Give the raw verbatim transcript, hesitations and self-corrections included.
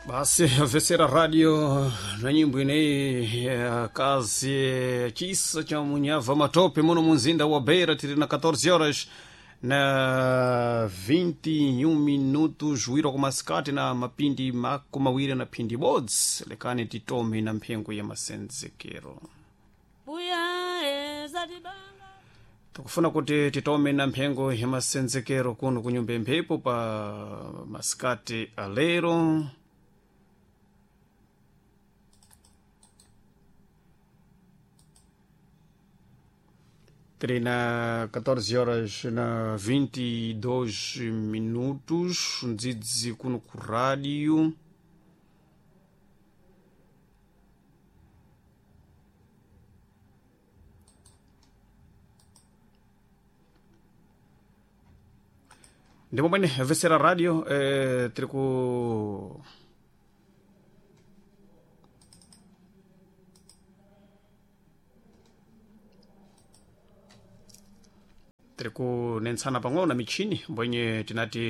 Basi vesera radio na nyimbo ineyi ya kazi chisa cha munyava matope muno munzinda wa Beira, tiri na catorze horas na vinte e um minutos, wiro kumasikati na mapindi mako mawiri na phindi bodzi. Lekani titome na mphengo ya masenzekero. Buya ezatibanga. Tikufuna kuti titome na mphengo ya masenzekero kuno kunyumba mphepo pa masikati alero. Tiri na catorze horas na vinte e dois minutos, ndzidzi kuno ku rádio. Ndipo mwene vesera radio, eh, tiri ku tiri kunentsana pang'ono na michini mbwenye tinati.